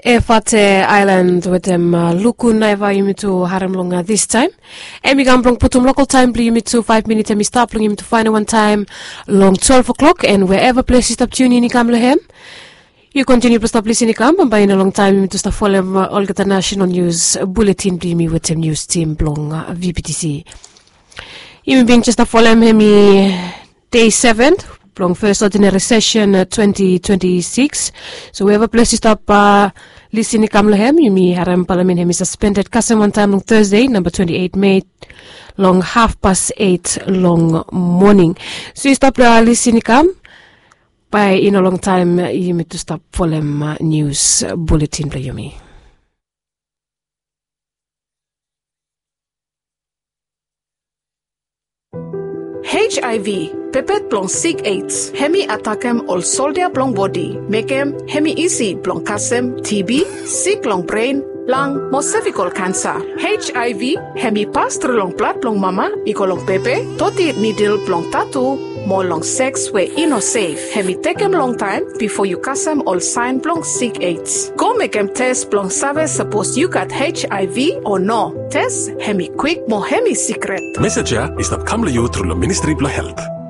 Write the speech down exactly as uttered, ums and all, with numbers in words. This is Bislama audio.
Efate Aelan wetem Luku Naiva yumi tu harem long distaem. Em i kam blong putum lokal taem blong yumi tu faef minit em i stap long yumi tu faenem wantaem long twelef o'klok. En wherever ples yu stap tiun in i kam long hem, yu kontiniu blong stap lisin i kam bambae i no longtaem yumi tu stap folem olgeta nasenal nius buletin blong yumi wetem nius tim blong V P T C. Yumi bin jes stap folem hem i dei seven blong fes odinari sesen twenti twenti sikis. So wherever ples yu stap lisin i kam long hem, yumi harem palamen hem i saspended kasem wantaem long Thursday namba twenti eit Mei long hafpas eit long moning. So yu stap lisin i kam, bae i no longtaem yumi tu stap folem nius buletin blong yumi. H I V, pepet blong sik AIDS, hem i atakem ol soldia blong bodi, mekem hem i isi blong kasem T B, sik long bren, lang mo sevikol kansa. H I V hem i pas tru long blad blong mama i go long pepe, toti nidil blong tatu, mo long seks we i no sef. Hem i tekem longtaem bifo yu kasem ol saen blong sik AIDS. Go mekem tes blong save sapos yu gat H I V o no. Tes hem i kwik mo hem i sikret. Mesej ya i stap kam long yu tru long Ministri blong Helt.